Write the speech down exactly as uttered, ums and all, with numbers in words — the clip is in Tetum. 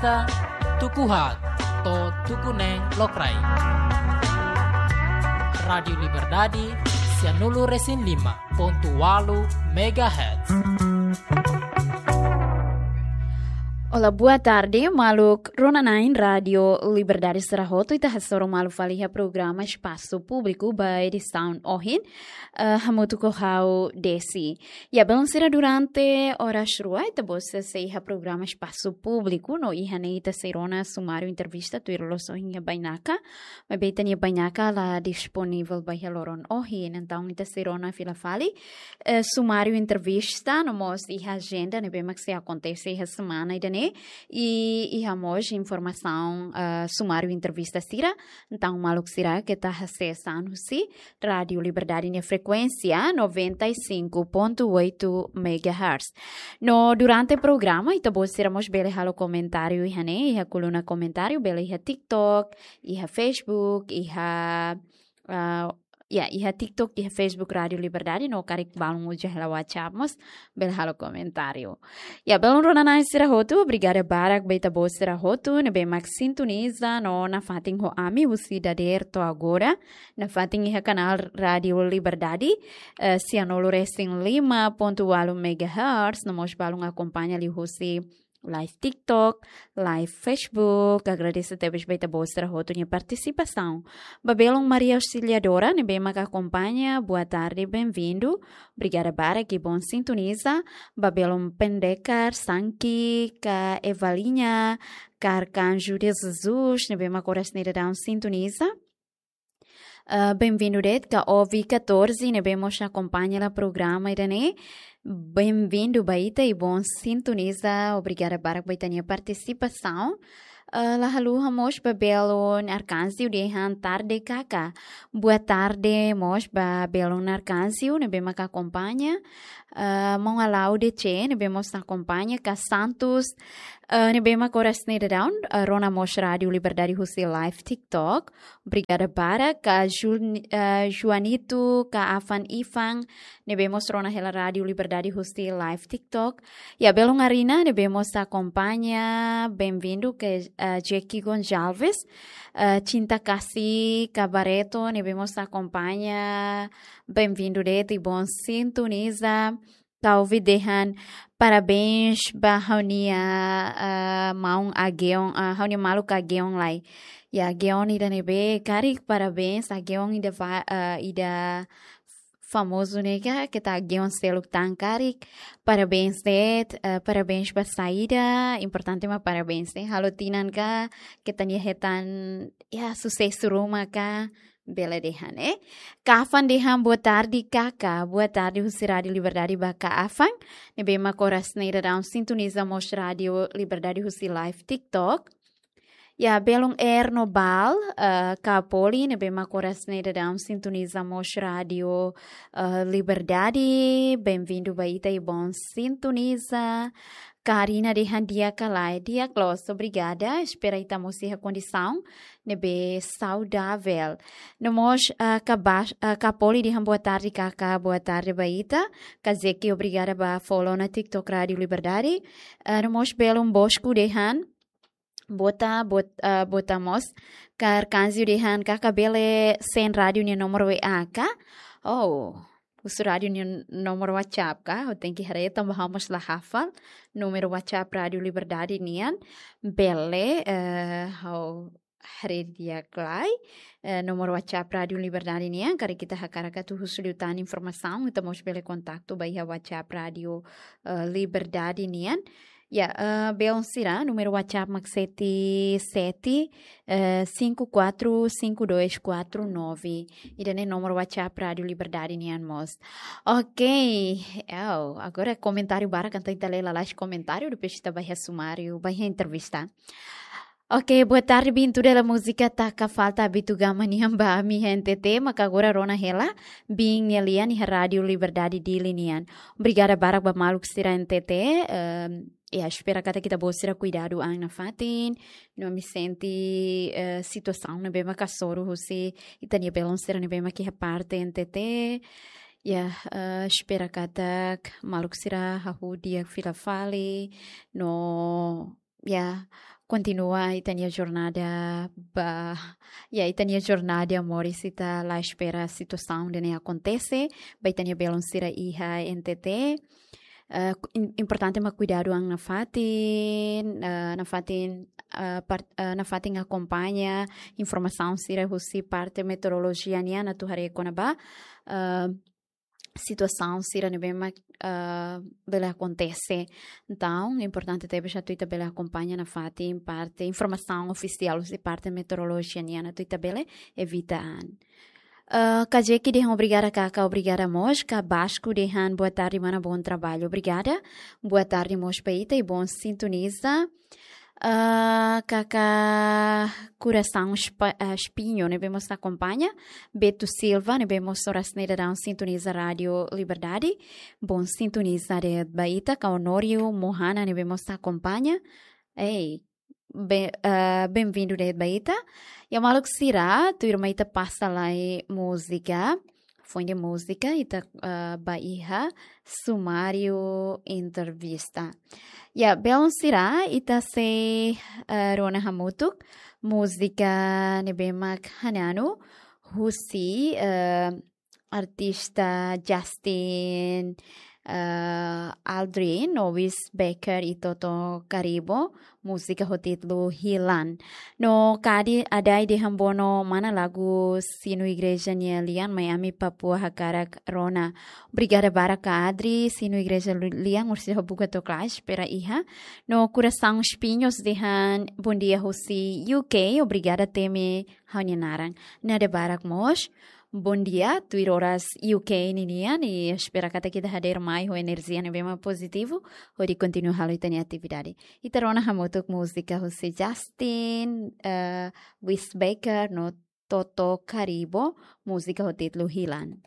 Tuku haat to'o tuku neen lokraik. Rádiu Liberdade, sianulu resin lima pontu ualu megahertz. Olá, boa tarde, maluk rona-na'in Rádiu Liberdade sira hotu. Ita hasoru malu fali iha programa Espasu Públiku ba edisaun ohin, eh, hamutuk ho ha'u Desi. Ya, belun sira, durante oras rua ita-boot sei iha programa Espasu Públiku, no iha ne'e ita sei rona sumáriu entrevista tuir loos ohin iha bainaka. Maibé ita-nia bainaka la disponivel ba iha loron ohin, entaun ita sei rona fila fali, eh, sumáriu entrevista no mós iha ajenda ne'ebé mak sei akontese iha semana ida-ne'e, i iha mós informasaun, eh, sumáriu entrevista sira. Entaun maluk sira keta hasees an husi Rádiu Liberdade nia frekuénsia noventa e cinco ponto oito megahertz. No durante programa ita-boot sira mós bele halo komentáriu iha ne'e, iha koluna komentáriu, bele iha TikTok, iha Facebook, iha, ah, ya, iha TikTok, iha Facebook Rádiu Liberdade, no karik balun uza hela WhatsApp mós bele halo komentáriu. Ya, belun rona-na'in sira hotu, obrigada barak ba ita-boot sira hotu ne'ebé mak sintoniza no nafatin ho ami husi dadeer to'o agora, nafatin iha kanál Rádiu Liberdade, eh, sianulu resin lima pontu ualu megahertz, no mós balun akompaña liuhusi live TikTok, live Facebook. Agradese tebes ba ita-boot sira hotu nia partisipasaun. Ba belun Maria Auxiliadora ne'ebé mak akompaña, boa tarde, bem-vindo. Obrigada barak, i bom sintoniza. Ba belun Pendekar, Sanki, ka Evalinha, ka Arcanjo de Jesus ne'ebé mak oras ne'e daudaun sintoniza. Ah, bem-vindo de'it, ka Ovi catorze ne'ebé mós akompaña hela programa ida-ne'e. Bem-vindo ba ita i bom sintoniza. Obrigada barak ba ita-nia partisipasaun. Ah, la haluha mós ba belun Arcanjo dehan tarde kaka. Boa tarde mós ba belun Arcanjo ne'ebé mak akompaña. Ah, Mon Alau D C ne'ebé mós akompaña, ka Santos, ah, ne'ebé mak oras ne'e daudaun, ah, rona mós Rádiu Liberdade husi live TikTok. Obrigada barak, ka Jun-, eh, Juanito, ka Afan Ifan ne'ebé mós rona hela Rádiu Liberdade husi live TikTok. Ya, belun Arina ne'ebé mós akompaña, bem-vindo, ka, eh, Jackie Gonçalves, eh, Cinta Kasih, ka Barreto ne'ebé mós akompaña, bem-vindo de'it i bom sintoniza. Ka Ovi dehan parabéns ba ha'u-nia, ah, maun Ageon, ah, ha'u-nia maluk Ageon lai. Ya, Ageon ida ne'ebé karik parabéns, Ageon ida fa-, ah, ida famozu ne'e ka, keta Ageon seluk tan karik. Parabéns de'it, ah, parabéns ba saida, importante mak parabéns ne'e. Halo tinan ka, keta nia hetan, ya, susesu ruma ka, bele dehan, eh. Ka Afan dehan boa tarde kaka, boa tarde husi Rádiu Liberdade ba ka Afan ne'ebé mak oras ne'e daudaun sintoniza mós Rádiu Liberdade husi live TikTok. Ya, belun Erno Bal, eh, ka Poli ne'ebé mak oras ne'e daudaun sintoniza mós Rádiu, eh, Liberdade, bem-vindo ba ita i bom sintoniza. Ka Arina dehan di'ak ka lae, di'ak loos, obrigada. Espera ita mós iha kondisaun ne'ebé saudavel. No mós, ah, ka Bas-, ah, ka Poli dehan boa tarde kaka, boa tarde ba ita. Ka Zeki, obrigada ba follow ona TikTok Rádiu Liberdade. Ah, no mós belun Bosco dehan, bota, bot-, ah, bota mós. Ka Arcanjo dehan kaka bele send rádiu nia nomor W A ka. Oh, husu rádiu nia nomor WhatsApp ka, ha'u tenke haree tanba ha'u mós la hafal númeru WhatsApp Rádiu Liberdade nian. Bele, eh, ha'u haree di'ak lai, eh, nomor WhatsApp Rádiu Liberdade nian, karik ita hakarak atu husu liután informasaun, ita mós bele kontaktu ba iha WhatsApp Rádiu, eh, Liberdade nian. Ya, eh, belun sira, númeru WhatsApp mak sete sete, eh, cinco quatro cinco dois quatro nove. Ida-ne'e nomor WhatsApp Rádiu Liberdade nian mós. Ok, oh, agora komentáriu barak, entaun ita lee lalais komentáriu, depois ita ba iha sumáriu, ba iha entrevista. Ok, boa tarde, Bintu Dela Música, taka falta Abitu Gama nian ba ami iha N T T, maka agora rona hela, bin nia lian iha Rádiu Liberdade Dili nian. Obrigada barak ba maluk sira N T T, ehm, ya, espera katak ita-boot sira kuidadu an nafatin, no ami sente, eh, situasaun ne'ebé mak hasoru husi ita-nia belun sira ne'ebé mak iha parte N T T. Ya, eh, espera katak maluk sira hahú di'ak fila fali, no, ya, kontinua ita-nia jornada ba, ya, ita-nia jornada moris, ita la espera situasaun ida-ne'e akontese ba ita-nia belun sira iha N T T. Eh, ku-, im-, importante mak kuidadu an nafatin, eh, nafatin, eh, par-, eh, nafatin akompaña informasaun sira husi parte meteorolojia nian atu haree kona-ba, eh, situasaun sira ne'ebé mak, eh, bele akontese. Entaun, importante tebes atu ita bele akompaña nafatin parte informasaun ofisiál husi parte meteorolojia nian atu ita bele evita an. Eh, Kajeki dehan obrigada Kaka, obrigada mós. Ka Basku dehan boa tarde mana, bom trabalho. Obrigada. Boa tarde mós ba ita i bom sintoniza. Eh, Kaka Kurasaun Espa-, eh, Espinho ne'ebé mós akompaña. Beto Silva ne'ebé mós oras ne'e daudaun sintoniza Rádio Liberdade. Bom sintoniza de'it ba ita. Ka Honório Mohana ne'ebé mós akompaña. Ei, be-, eh, bem-vindo de'it ba ita. Ya maluk sira, tuirmai ita pasa lai múzika. Foin de múzika, ita, eh, ba iha sumáriu entrevista. Ya, belun sira, ita sei, eh, rona hamutuk múzika ne'ebé mak Hananu, husi, eh, artista Justin, eh, Aldrin, Owis Becker i Toto Karibo, múzika ho títulu Hilan. No Kadi Adai dehan bono mana lagu sinu igreja nia lian, mai ami Papua hakarak rona. Obrigada barak Ka Adri, sinu igreja lu-, lian orsida ho buka toklais, espera iha. No Kurasaun Espinhos dehan bom dia husi U K, obrigada temi ha'u-nia naran. Nada barak mós. Bom dia, tuir oras U K ninian, i espera katak ita hadeer mai ho enerjia ne'ebé mak pozitivu, hodi kontinua halo ita-nia atividade. Ita rona hamutuk múzika husi Justin, eh, Owis Becker no Toto Karibo, múzika ho títulu Hilan.